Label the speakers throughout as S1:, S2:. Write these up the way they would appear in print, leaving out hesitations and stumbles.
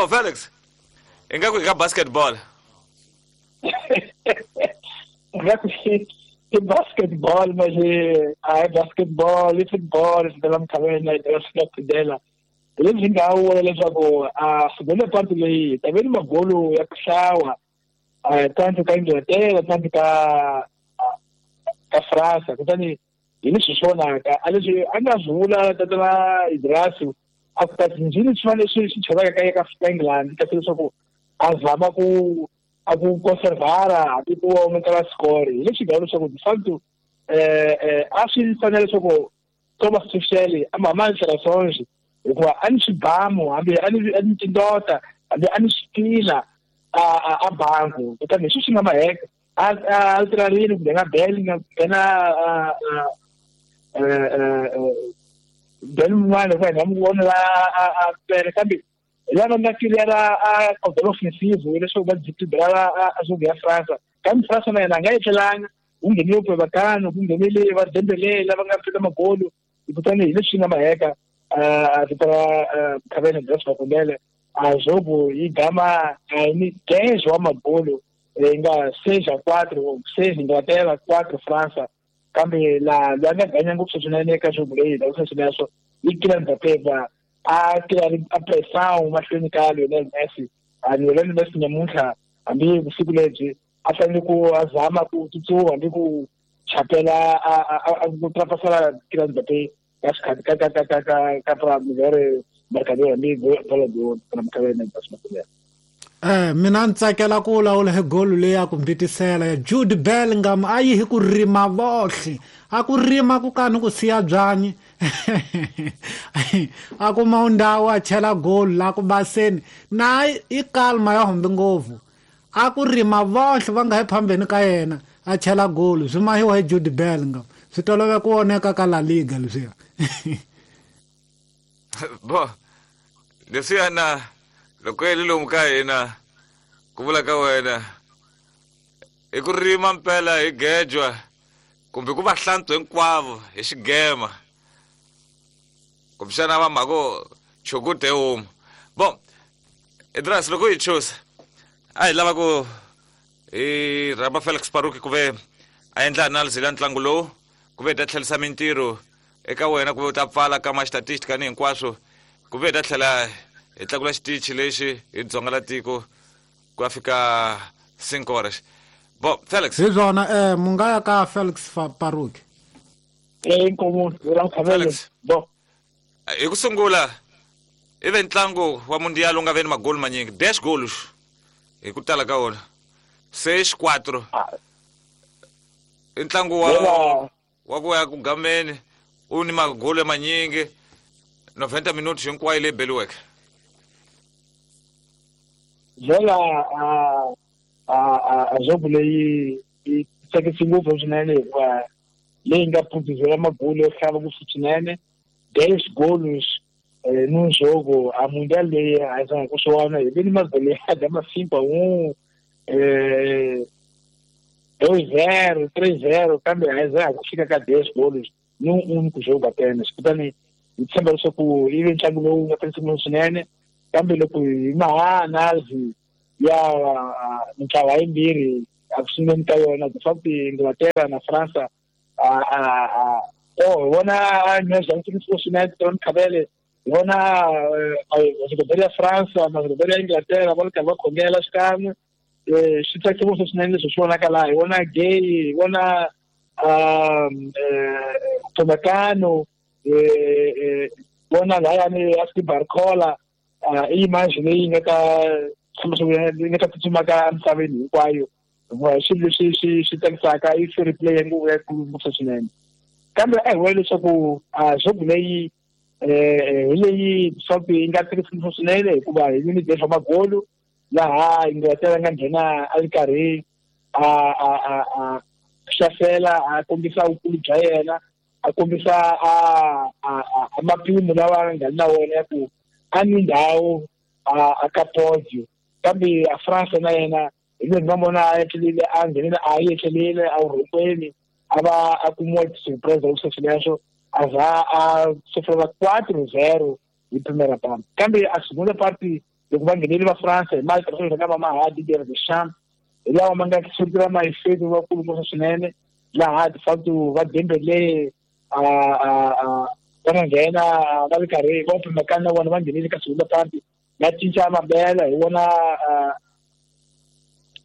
S1: Bo Felix, ingaku ka basketball.
S2: Ingaku i basketball, mas a basketball, i football, swi tela mikhaveni yi tela swi nga hi leswi nga vula leswaku a segunda parte leyi ta ve ni magolo ya ku xawa tanto ka Inglaterra tanto ka Fransa. Kutani hi leswi swi vonaka a leswi a nga swi vula tatana Idrasu a ku kasi njhini swi fanele swi chavaka ka England, kasi leswaku a zama ku a ku conservara hambi ku aumenta score. Hi leswi nga leswaku de facto a swi fanele leswaku Thomas Tuchel a ma relações hikuva a ni swibamu hambi a ni tindota hambi a ni switila a bangu. Kutani hi swi nga maheka a alterarile kumbe nga bel nga nghena bel mun'wana hikuva hi nga n'wi vona la a pele, kambe lava nga tirhela a cordon offensive leswaku va desequilibrar a jogo ya Fransa. Kambe Fransa na yena a nga etlelanga, ku nghenile Upamecano, ku nghenile va Dembele lava nga fika magolo. Kutani hi leswi nga maheka a vito ra Khavene Grace Makondele a jogo yi gama a ni 10 wa magolo yi nga 6-4, 6 Inglaterra, 4 Fransa. Kambe la loyi a nga ganya ngopfu swinene eka jogo leyi la sweswo i Kylian Mbappé a tirha a pressão mahlweni ka Lionel Messi. A Lionel Messi nyamuntlha hambi vusiku lebyi a fanele ku a zama ku tsutsuma hambi ku chapela a ku ultrapassar Kylian Mbappé ka xikhati ka ka ka ka ka ka melhor marcador hambi Ballon d'Or na Mkhavene Grace Makondele.
S3: Mina ni tsakela ku vulavula hi golo leyi ya ku mbitisela ya Jude Bellingham. A yi hi ku rima vohle, a ku rima ku kani ku siya byanyi a kuma ndhawu a chela golo la ku baseni na i kalma ya humbi ngopfu, a ku rima vohle va nga hi phambeni ka yena a chela golo. Swi mahiwa hi Jude Bellingham, swi tolove ku voneka ka La Liga leswiya.
S1: Bo leswiyana loko yi lomu ka hina ku vula ka wena i ku rima mpela hi gejwa kumbe ku va hlantswa hinkwavo hi xigema kumbexana va mhako chukute homu. Bon Idras, loko hi chusa a hi lava ku hi rhamba Felix Paruki ku ve a endla analysis ya ntlangu lowu, ku ve hi ta tlherisa mintirho eka wena, ku ve u ta pfala ka ma statistic ni hinkwaswo, ku ve hi ta tlhela hi tlakula xitichi lexi hi dzonga la tiko ku ya fika 5 horas. Bo Felix,
S3: hi swona mu nga ya ka Felix Paruki.
S2: Inkomu
S1: Felix, bo hi ku sungula i ve ntlangu wa mundial u nga ve ni magoli manyingi 10 goals hi ku tala ka wona 6-4. I ntlangu wa ku ya ku gameni u ni magoli manyingi 90 minutos hinkwayo leyi beliweke.
S2: Vela a jogo leyi yi tsakisi ngopfu swinene hikuva leyi nga produzela magoli yo hlava ngopfu swinene 10 goals num jogo. A mundial leyi a hi ku swona hi ve ni magoleada ma 5-1, 2-0, 3-0, kambe a hi za ku fika ka 10 goals num único jogo apenas. Kutani hi tshemba leswaku yi ve ntlangu lowu nga tsakisi ngopfu swinene. Kambe loko hi maha analysis ya mintlawa yimbirhi a ku sunguleni ka yona, de facto Inglaterra na Fransa hi vona nyazantsakisi swinene Tron Khabele, hi vona majogodori ya Fransa majogodori ya Inglaterra va ri karhi va khongela xikan'we. Swi tsakisa ngopfu swinene leswi swi vonaka laha hi vona Gay, hi vona Upamecano, vona lahayani Aspi Barcola, i image leyi nga ta yi nga ta tsutsumaka emisaveni hinkwayo hikuva hi swilo leswi swi tsakisaka i fair play ya nguvu ya ngopfu swinene. Kambe a hi vula leswaku jogo leyi hi leyi swaku yi nga tsakisi ngopfu swinene hikuva hi ni def magolo laha Inglaterra nga nghena a ri karhi a hlasela a kombisa vukulu bya yena, a kombisa a mapimo lawa nga na wona ya ku a ni ndhawu a ka podio. Kambe a France na yena hi loyi nga vona a etlelile a nghenile a yi etlelile a vurhokweni a va a kumiwa surprise leswi sweswo a za a sofrela 4-0 hi primera parte. Kambe a segunda parte Loko va nghenele va France hi mali tirhisa va maha Didier Deschamps hi lawa ma nga sukela maefeto vakulu ngopfu swinene laha de facto va Dembele a va nga nghena va ri karhi va pimekana na vona va nghenele ka segunda parte va cinca mabela hi vona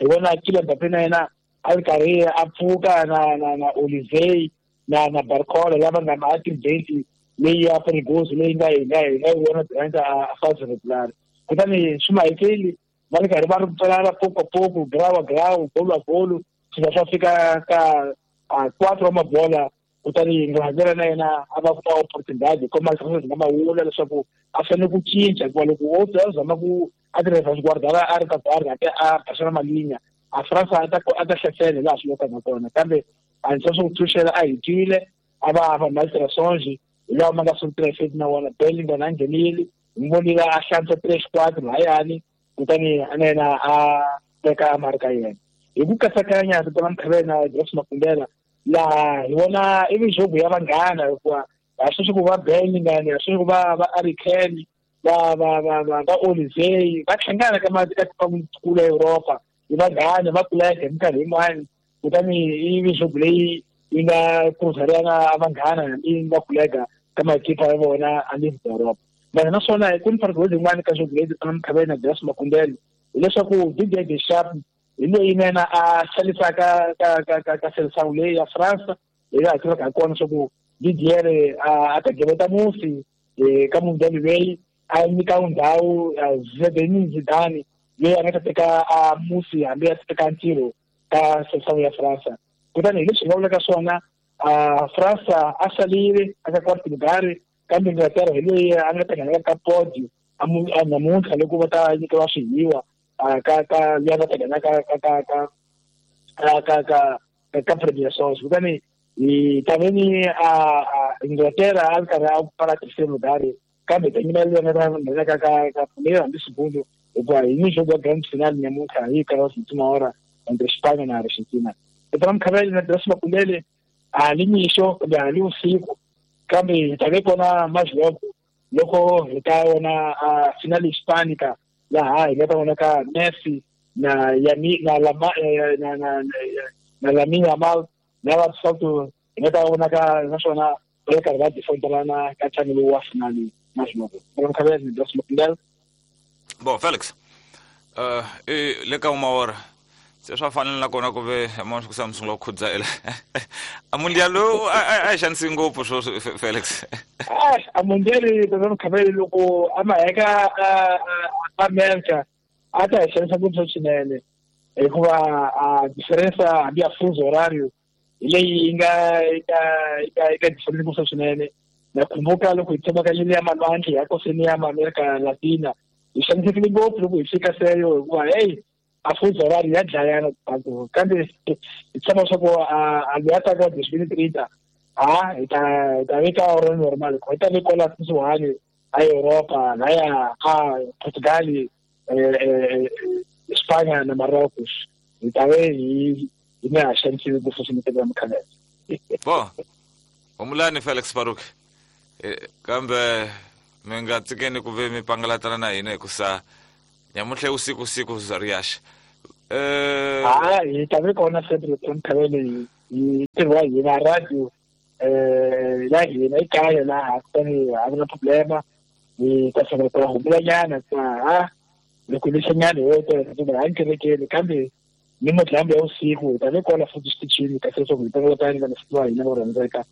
S2: hi vona Kylian Mbappé na yena a ri karhi a pfuka na na na Olivier na na Barcola lava nga ma activate leyi ya Perigoso leyi nga hi nga hi nga yi vona durant a phase regular. Kutani swi mahekeli va ri karhi va ri pfalana poco a poco, grau a grau, golo a golo, swi za swa fika ka 4 wa mabola. Kutani Inglaterra na yena a va kuma opportunidade kuma leswi nga mawula leswaku a fanele ku cinca, hikuva loko o a zama ku a tirhisa xigwardala a ri ka guarda a basela malinya a France a ta hlasela laha swi lokaka kona. Kambe a ndzi swa ku Tuchel a hi twile a va va malterações hi lawa ma nga swi tirhisa na wona. Bellingham a nghenile hi vonile a hlantswa 3-4 lahayani, kutani na yena a teka marka yena hi ku katsakanya rito la Mkhavela Grace Makumbela. Laha hi vona i mijogo ya vanghana, hikuva a swi ku va Bellingham, a swi ku va va Harry Kane, va va va va va Olivier va hlangana ka matiko ka ya Europa hi vanghana va kuleka hi minkarhi yin'wani. Kutani i mijogo leyi yi nga cruzarana vanghana yi nga kuleka ka makipa ya vona a le Europa. Mara naswona ku ni fargo yin'wana ka jogo leyi na Mkhavela Grace Makumbela hileswaku Didier Deschamps hi loyi na yena a xanisaka ka ka ka ka seleção leyi ya France, hi laha tivaka hi kona leswaku Didier a ta geveta musi ka mundial leyi a nyika ndhawu Zinedine Zidane leyi a nga ta teka a musi hambi a teka ntirho ka seleção ya France. Kutani hi leswi hi nga vulaka swona, France a salile aka quarto lugar, kambe Inglaterra hi loyi a nga ta nghenela ka podio a namuntlha loko va ta nyikiwa swihiwa ka ka ya va ta nghena ka ka ka ka ka ka ka ka premiações. Kutani hi taveni a Inglaterra a ri karhi a pfala terceiro lugar, kambe ta nyima leyi nga ta nghena ka ka ka primeiro hambi segundo, hikuva hi mijogo ya grand final namuntlha hi karhi última hora entre Espanha na Argentina. Eka Mkhavela na Grace Makumbele a li mixo kumbe a li usiku, kambe hi ta ve kona majoko loko hi ta vona final hispanica laha hi nga ta vona ka Messi na Yami na Lama na na na Lamine Yamal na va Salto, hi nga ta vona ka naswona va ri karhi va defendelana ka ntlangu lowu wa finali majoko. Mkhavela na Grace Makumbele.
S1: Bon Felix, le ka uma hora se swa fanele na kona ku ve mona ku sa mi sungula ku khudzela a mundial lowu a xanisi ngopfu swo Felix.
S2: A mundial tata Mkhavela loko a ma heka America a ta hi xanisa ngopfu swinene, hikuva a diferença hambi ya fuso horario hi leyi yi nga eka eka eka difference ngopfu swinene. Na kumbuka loko hi tshama ka ya malwandle ya koseni ya America Latina hi xanisekile ngopfu loko hi fika seyo, hikuva hey a fuso horario ya dlayana batho, kambe hi tshama swa ku a loyi a taka 2030 a hi ta veka oro normal, hi ta ve kwala kusuhani a Europa laya a Portugal, Espanya na Marrocos, hi ta ve hi nga ha xanisiwi ngopfu swinene eka Mkhavela.
S1: Bo humulani Felix Baruch, kambe mi nga tsikeni ku ve mi pangalatana na hina hikusa nyamuntlha usiku siku zariyaxa.
S2: Hi ta ve kona sempre Mkhavela hi ntirho wa hina radio ya hina ekaya laha, kutani a ku na problema hi ta tlhela ku humulanyana hikuva loko lexanyana hi wo a ni kerekeni, kambe ni madyambu ya usiku hi ta ve kona futhi xitichini kasi leswaku hi ta vota ni vanhu va hina vo rhandzeka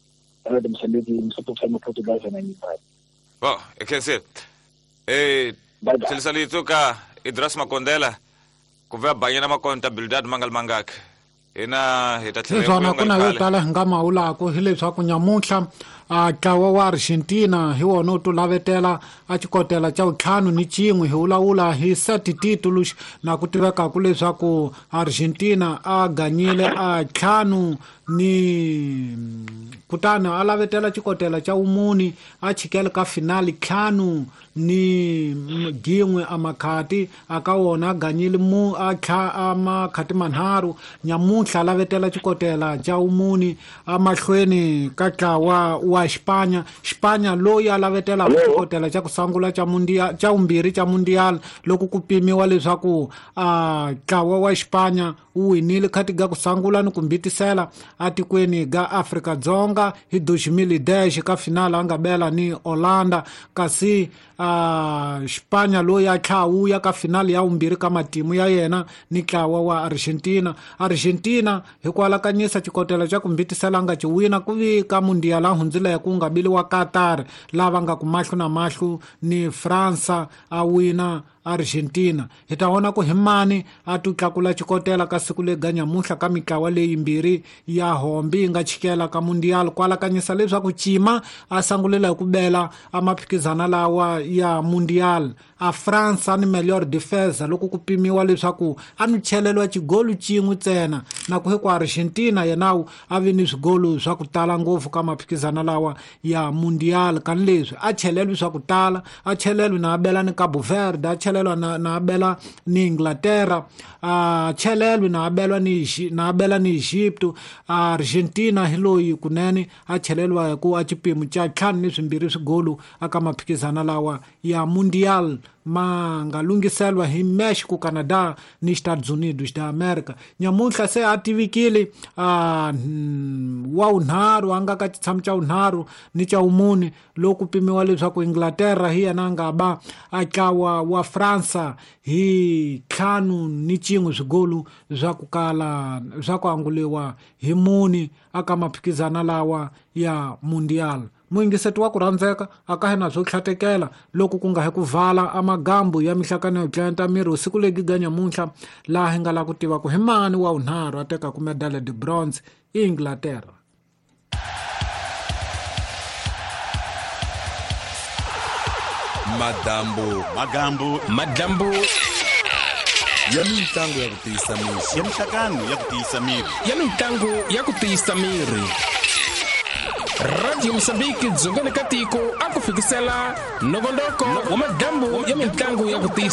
S2: Radio Mozambique Msopho Portugal na nyimba.
S1: Bo ekhense tlhelisalitso ka Idras Makondela ku va banyana makonta Bildad Mangal Mangak hina hi ta tlhela
S3: swona ku na yo tala hi nga mawulako hileswaku nyamuntlha a ntlawa wa Argentina hi wona wu tulavetela a xikotela xa 51 hi wulawula hi 7 títulos, na ku tivekaku leswaku Argentina a ganyile a 5 ni kutani a lavetela xikotela xa 4 a chikele ka finali 5 ni gin'we a makhati aka wona a ganyile mu a a makhati manharhu. Nyamuntlha a lavetela xikotela xa 4 amahlweni ka ntlawa wa wa Xipanya. Xipanya loyi a lavetelaka xikotela xa ku sungula xa mundial xa vumbirhi xa mundial loko ku pimiwa leswaku ntlawa wa Xipanya wu winile khati ga ku sungula ni ku mbitisela atikweni ga Afrika-Dzonga hi 2010 ka finala a nga bela ni Holanda. Kasi Xipanya loyi a tlhawuya ka finali ya vumbirhi ka matimu ya yena ni ntlawa wa Argentina. Argentina hi ku alakanyisa xikotela xa ku mbitisela nga ci wina ku vi ka mundial a hundzileke ku nga biliwa Qatar lava nga ku mahlo na mahlo ni Fransa a wina Argentina. Hi ta vona ku hi mani a tu tlakula xikotela ka siku lega nyamuhla ka mitlawa leyimbirhi ya hombi yi nga chikela ka mundial ku alakanyisa leswaku Chima a sangulela hi ku bela a maphikizana lawa ya mundial. A Fransa ni melhor defesa loko ku pimiwa leswaku a ni cheleliwa xigolu xin'we ntsena na ku hi ku Argentina yenawu a vi ni swigolu swa ku tala ngopfu ka maphikizana lawa ya mundial. Kani leswi a cheleliwi swa ku tala, a cheleliwi na a bela ni Cabo Verde, a chelelwa na abela ni Inglaterra, a chelelwi na abelwa ni na abela ni Egypto. Argentina hi loyi kunene a chelelwa hi ku a xipimo xa 5-2 swigolu aka maphikizana lawa ya mundial ma nga lunghiselwa hi Mexico, Canada ni Estados Unidos da America. Nyamuntlha se a tivikile wa vunharhu a nga ka xitshamo xa vunharhu ni xa vumune loko pimiwa leswaku Inglaterra hi yena a nga ba a ntlawa wa Fransa hi 5-1 swigolu swa ku kala swa ku anguliwa hi mune aka maphikizana lawa ya mundial. Muyingiseti wa ku rhandzeka a ka hina swo tlhatekela loko ku nga hi ku vala amagambu ya mihlakano yo dlaya miri usiku legi ga nyamuntlha laha hi nga la ku tiva ku hi mani wa vunharhu a tekaku medale de bronze i Inglaterra.
S4: Madambu magambu
S5: madambu
S4: ya mitlangu ya ku tiyisa miri
S6: ya mihlakano ya ku tiyisa miri
S5: ya mitlangu ya ku tiyisa miri. Radio Mozambique dzongeni ka tiko a ku fikisela nongonoko wa madambu ya mitlangu ya ku tiyisa